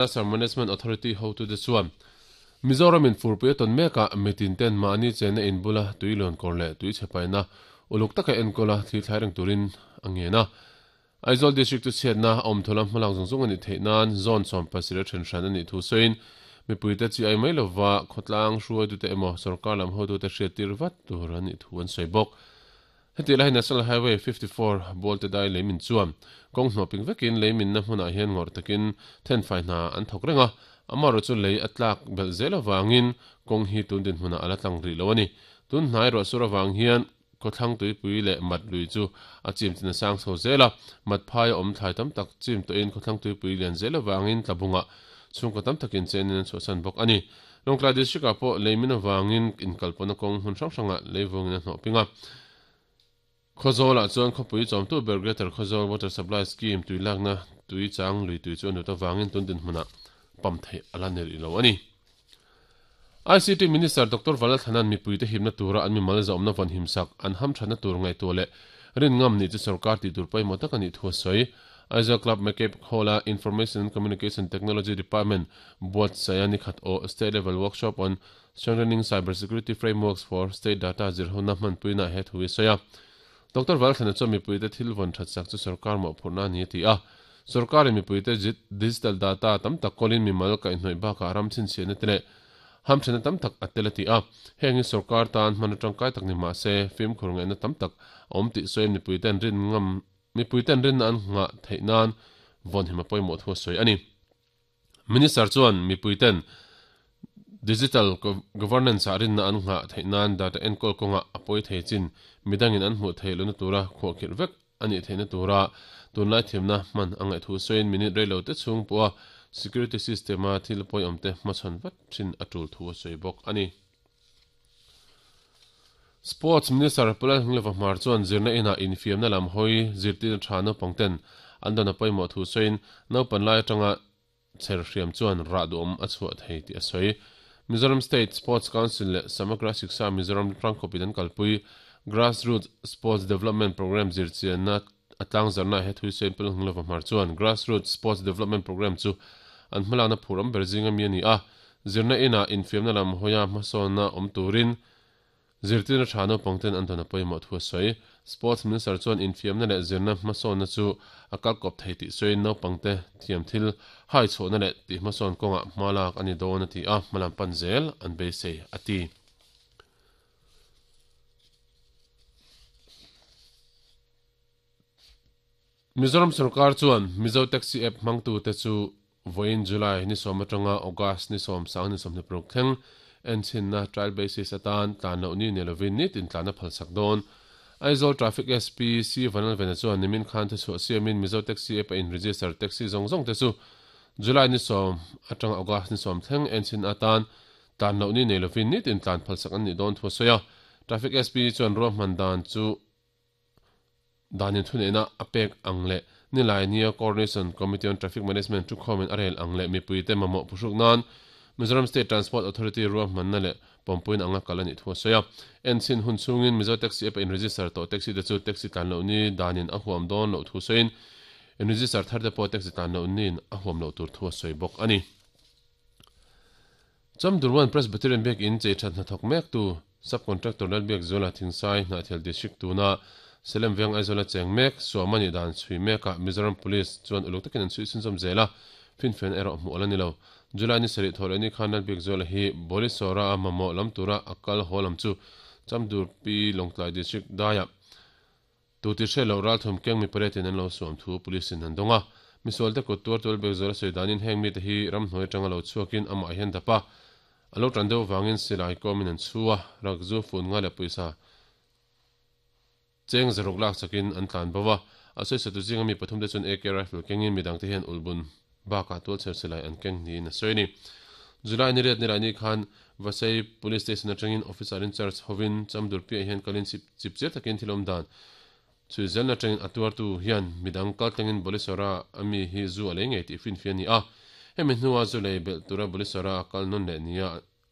Disaster Management Authority hotute chuan Mizoram in furpui a tawn mekah mitin ten mahni chenna in bula tui lawn kawr leh tui chhe paihna uluk taka enkawl a thli thlai reng turin a ngen a. Aizawl District chu chhiatna a awm thawla hmalak zawng zawng a nih theih nan zone 70 a then hran a nih thu sawiin mipuite chi ai mai lova khawtlang hruaitute emaw sorkar lam hotute hriattir vat tur a nih thu an sawi bawk. Heti lai National Highway 54 Bualte dai leimin chuan kawng hnawh ping vekin leiminna hmunah hian ngawrh takin thenfai hna an thawk reng a, amaherawh chu lei a tlak belh zel avangin kawng hi tun dinhmunah a la tlang rih lo a ni. Tun hnai ruahsur avang hian khawthlang tuipui leh mat lui chu a chim chin a sang chho zel a, mat phai a awm thlai tam tak chim tawhin khawthlang tuipui lian zel avangin tlabungah chhungkaw tam takin chenin an chhuahsan bawk a ni. Lawngtlai District-ah pawh leimin avangin inkalpawhna kawng hmun hrang hrangah leivungin a hnawh ping a. Khawzawlah chuan khawpui chawmtu ber Greater Khawzawl Water Supply Scheme tui lakna tui chang lui tui chu a nut avangin tun dinhmunah pump theih a la ni rih lo a ni. ICT Minister Doctor Valalthanan mipuite himna tura an mimal zawmna vawn himsak an hamthatna tur ngaihtuah leh rin ngam nih chu sorkar tih tur pawimawh tak a nih thu a sawi. Aizawl Club McCabe Hall-a Information and Communication Technology Department buatsaia nikhat aw State Level Workshop on Strengthening Cyber Security Frameworks for State Data zirhona hmanpuina he thu i sawi a. Doctor Valthlana chuan mipuite thil vawn that sak chu sorkar mawhphurhna a ni a ti a. Sorkarin mipuite digital data tam tak kawlin mimal kaihhnawih bakah ram chhinchhiahna te leh hamthenna tam tak a tel a ti a. Heng hi sorkar tan hman atangkai tak ni mah se fimkhur ngaihna tam tak a awm tih sawiin mipuiten rin ngam Mipuiten rinna an nghah theih nan vawnhim a pawimawh thu a sawi a ni. Minister chuan mipuiten digital governance-ah rinna an nghah theih nan data enkawl kawngah a pawi thei chin midangin an hmuh theih lohna tura khuahkhirh vek a nih theihna tura tunlai thiamna hman a ngaih thu sawiin minute rei lo te chhung pawha security system-a thil pawiawmte hmachhawn vat thin a tul thu a sawi bawk a ni. Sports Minister Pu Lalhngleva Hmar chuan zirna inah infiamna lam hawi zirtirna tha naupang ten an dawn a pawimawh thu sawiin naupan lai atanga chher hriam chuan rah duhawm a chhuah thei tih a sawi. Mizoram State Sports Council leh Samagra Shiksha Mizoram Tlangkhawpin an kalpui Grassroots Sports Development Programme zirchianna a tlangzarna he thui sawiin Pu Lalhngleva Hmar chuan Grassroots Sports Development Programme chu an hmalakna phur awm ber zinga mi a ni a, Zirna inah infiamna lam hawia hmasawnna awm turin zirtirna tha naupangten an dawn a pawimawh thu a sawi. Sports Minister chuan infiamna leh zirna hmasawnna chu a kalkawp thei tih sawiin naupangte thiam thil hai chhuahna leh tih hmasawn kawngah hma lak a ni dawn a ti a, hmalam pan zel an beisei a ti. Mizoram sorkar chuan Mizo Taxi App hmangtute chu vawiin July ni sawm atanga August ni sawm sang ni 26 thleng enchhinna trial basis atan tlan loh ni ni lovin nitin tlan a phalsak dawn. Aizawl Traffic SP C Vanlalvena chuan nimin khan thuchhuah siamin Mizo Taxi App a in register taxi zawng zawng te chu July ni sawm atanga August ni sawm thleng enchhin atan tlan loh ni nei lovin nitin tlan phalsak an nih dawn thu a sawi a. Traffic SP chuan ruahman dan chu Danin thuneihna a pek ang leh nilai nia Coordination Committee on Traffic Management thukhawmin a rel ang leh mipuite mamawh phuhruk nan Mizoram State Transport Authority ruahmanna leh pawmpuina anga kal a nih thu a sawi a. Enchhin hun chhungin Mizo Taxi App a in-register tawh taxi te chu taxi tlan loh ni danin a huam dawn loh thu sawiin in-register thar te pawh taxi tlan loh niin a huam loh tur thu a sawi bawk a ni. Chamdurwan Presbyterian Biakin chei that hnathawk mektu Sub-Contractor Lalbiakzuala Thingsai Hnahthial District tuna Salem Veng Aizawla cheng mek Suama nih dan chhui mekah Mizoram Police chuan uluk takin an chhui chhunzawm zel a, finfiahna erawh hmuh a la ni lo. July ni sarih thawh leh ni khan Lalbiakzuala hi Borisora a mamawh lam tura a kal haw lam chu Chamdurpi Lawngtlai District daiah Tu ti hre loh ralthum keng mi pariatin an lo suam thu police in an dawng a. Misualte kut tuar tual bek zual a sawi danin heng mite hi ramhnuai atanga lo chhuakin amah hian dap a, a lo tan deuh vangin silai kawmin an chhu a, rakzu fun nga leh pawisa cheng zaruk lak chakin an tlan bo a. A sawisatu zinga mi pathumte chuan AK rifle kengin midangte hian ulhbun bakah tualchher silai an keng niin a sawi a ni. July ni riat nilai ni khan Vasai Police Station atangin Officer in Charge hovin Chamdur piah hian kalin chip chip chiar takin thil awm dan chhui zelna atangin a tuartu hian midang kal tlangin Bolisora a mi hi zu a lei ngei tih finfi a ni a. Hemi hnua zu lei belh tura Bolisora a kal nawn leh nia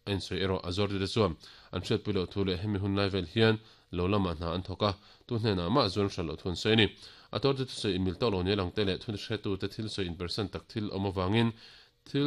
a insawi erawh a zuartute chuan an hriatpui loh thu leh hemi hun lai vel hian lo lamah hna an thawk a, tu hnenah mah zuan hral loh thu an sawi a ni. A tuartu thusawi inmil tawk lo nia langte leh thu hretute thil sawi inpersan tak thil awm avangin.